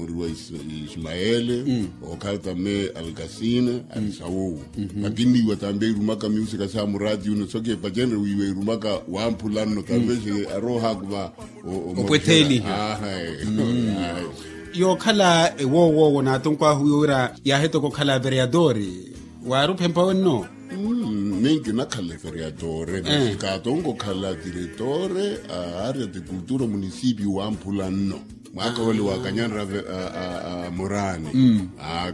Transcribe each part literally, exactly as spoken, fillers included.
Ori wa ismaele, okhala tambe alkasina, ari sawuwo. Makinniwa tambe irumaka miusika sa murati uno soke pacenre wiiwa irumaka wamphulanno tambe se arohakuva. Opwetheliha. Yookhala ewoowowo naatonko ahu wiiwa wira yaahetoka okhala vereadori. Waari ophempa wenno? Minki nakhala vereadori nasi kaatonko okhala diretore a aria de kultura munisipi wamphula nno. Mwaaka wale wakanyanra moraani.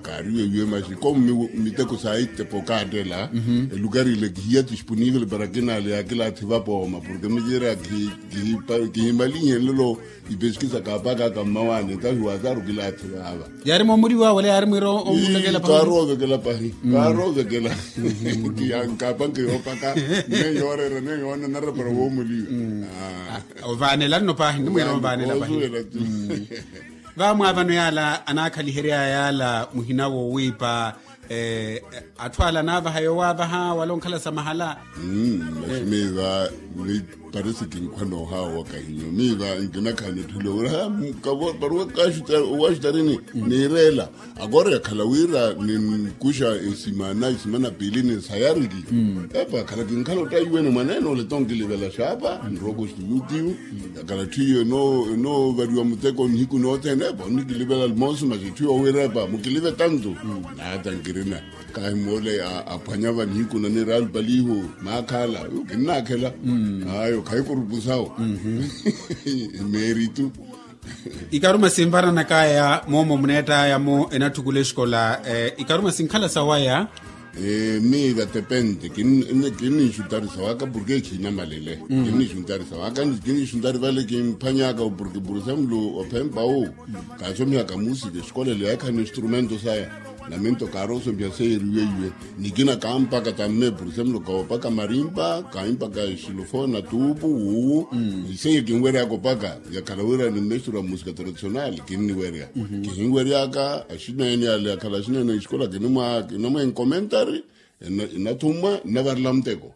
Kaari weiwe masi komu miteko saittepo kaattela. Elukari ile kihiya disponivel para kinaale yaakilaathi vapooma porke mikiira kihimalihenlelo. Ipeskisa kaapakaka mmawaani ntahi waataaru kilaathi vaava. Yaari moomuriwa wala yaari mwiira omulekela pahi? Kaaroovekela pahi. Kaaroovekela. Kiyankaapanke yoopaka. Nne yooreera nne yoonanara para woomuliwa. Ovaanela nno pahi nne mwiira ovaanela pahi. Vaamwaavano yaala anaakhaliheryaya yaala muhina woowiipa. Atthu ala anaavaha yoowaavaha wala onkhala sa mahala. Masi miiva parisi kinkhwa noohaawa kahinyo miiva nkinakhala nitthule wira paruwa kaxutarini. Niireela akoori yakhala wira ninkuxa esimana esimana piili ninsayariki. Epa yakhala kinkhala ottaiwene mwaneene ole tonkilivela xaapa nrooko xiyutiyu. Yakhala ttiyo enoovariwa muteko nihiku nothene epa onikilivela almosu masi ttiyo wira epa mukilive tantu. Naata nkirina. Kahi moole aphwanya va nihiku na niralu palihu maakhala. Kinnaakhela. Ayo khayi kurupusawo. Meeritu. Ikaruma sinvaranakaya moomo muneettayamo enatthukula exikola. Ikaruma sinkhala sawaya. Miiva tepente kinninxuntari sawaka porke ekhiinamalele. Kinninxuntari sawaka kinninxuntari vale kimphanyaka porke por exemplo ophempa wu kaasomihaka musika exikola ele yaakhala na instrumento saya. Namento kaaroosompiha seyeriweiwe. Nikina kaampaka tamme por exemplo kaopaka marimpa kaimpaka exilofona tuupu wuwu. Iseye kinweryaka opaka yakhala wira ni mestura musika tradicional kinniwerya. Kihinweryaka axineenyale yakhala axineenye exikola kinamwa enkomentari. Inathumwa nnavarela muteko.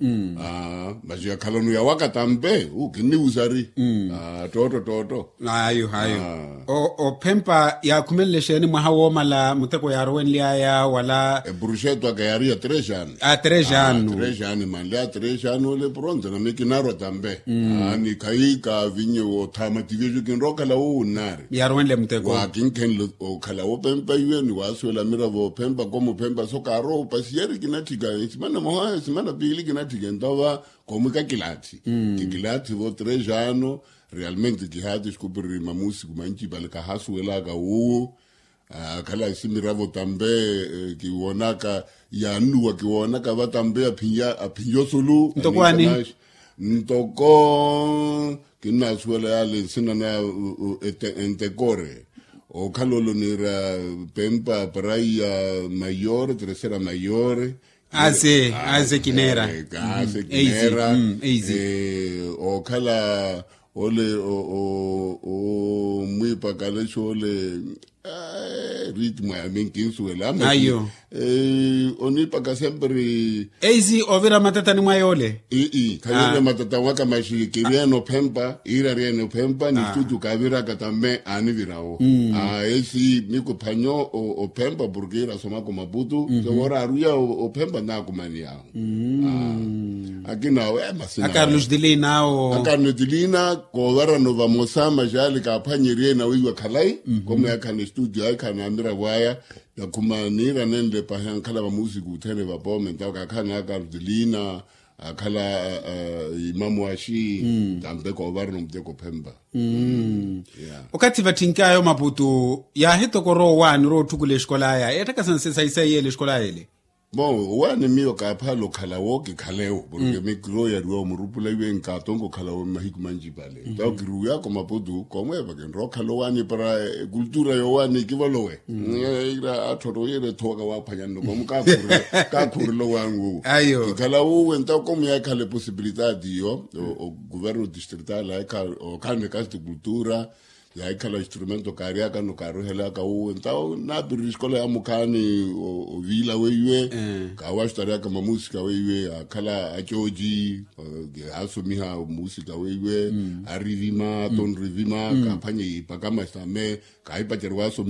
Masi yakhalano yawaka tampe kinniwusari. Ttootto ttootto. Ayo ayo. Ophempa yaakhumenle exeeni mwaha woomala muteko yaarowenly'aya wala? Epuruxeto aka yaari ya tres ano. A tres ano. Tres ano emanly'aya tres ano ole pronto nami kinarwa tampe. Ni khayi kaavinye woothama tivejo kinrowa okhala wuwo nnaari. Yaarowenle muteko. Waakinkhenle okhala wophempa iwe ni waasuwela miravo ophempa komu ophempa so kaarowa opasiyeri kinatthika esimana moha esimana piili kinatthika entova. Komwika kilaathi. Kikilaathi vo tres ano. Realmente kihaati exikupiriri mamusiku manci pale kahaasuwelaka wuwo. Akhala esimiravo tampe kiwoonaka yaannuwa kiwoonaka va tampe aphinyo sulu. Ntoko ani? Ntoko kinnaasuwela yale nsina na entekore. Okhala olo niira pempa praia mayore tercera mayore. Aze aze kinera. Aze kinera. Okhala ole omwipakale xole. Ritmo yami nkinsuwela ayo. Onipaka sempre. Eisi ovira matatani mwa yole. Ii khavirira matata waka maxi kiriene ophempa iira ariene ophempa ni studio kaaviraka tambe aanivirawo. Esi mikuphanyo ophempa porke iira asomaka omaputu. Sewora aruya ophempa naakumaniyawo. Akina awo emasina akarno tilina awo akarno tilina. Koovarano vamosa maxali kaaphwanyeriye nawiiwa khalayi. Komu yaakhala estudio aakhala namiravo aya. Yakhuma niira nenle pahi ankhala vamusiku othene vapoome ntawo kaakhala nakarno tilina. Akhala imamu axi tampe koovarano muteko ophempa. Okathi vatthink'aya omaputu yaahitokora owaani orowa otthukula exikola aya eetthaka sanse saisaiya ele exikola aya ele. Bon owaani miyo kaaphaala okhalawo kikhalewo porke mikiro yariwa omurupula iwe nkaatonka okhalawo mmahiku manci pale. Ntawo kiruwiyaka omaputu koomweepa kinrowa okhalawo owaani para ekultura yoowaani kivolowe. Ira atthotto yira ethowaka waaphwanya nno koomu kaakhurela owaani wuwo. Kikhalawo uwe ntawo koomu yaakhala eposibilitati iyo oguverno distrital yaakhala okhala ni kasti kultura. Yaahikhala instrumento kaaryaka nno kaaruhelaka wuwo ntawo naapirira esikola ya mukhaani oviila weiwe. Kaawaxutaryaka mamusika weiwe yaakhala acooci. Kaasomiha musika weiwe arivima tonrivima kaaphwanye ipaka masame. Kaahipacerya waasomiha